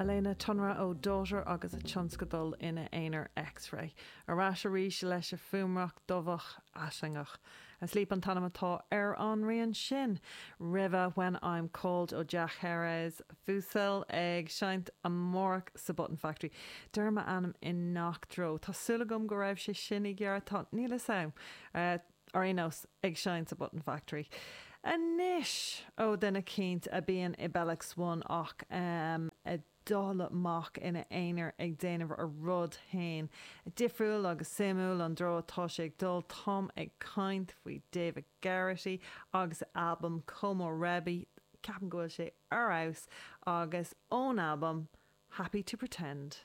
Alena Tonra ó Daughter agus a tionscadal ina aonar X-Ray. Ar ais arís leis a fuaimdhreach dubhach aislingeach. Asleep an t-ainm atá ar an rian sin. Roimhe When I'm Called ó Jack Jerez Fussell ag seinnt amárach sa Button Factory. Deirim a ainm i ngach treo. Tá súil agam go raibh sé sin i gceart. Tá, níl fhios a'm. Ar aon nós, ag seinnt sa Button Factory. Anois, ó duine eicínt a bíonn i Bellax One ach ag dul amach ina aonar ag déanamh a rud fhéin. Difriúil agus suimiúil an dtreo atá sé ag dul. Táim ag caint faoi David Geraghty agus a albam Komorebi. Ceapaim go bhfuil sé ar fheabhas agus ón albam Happy to Pretend.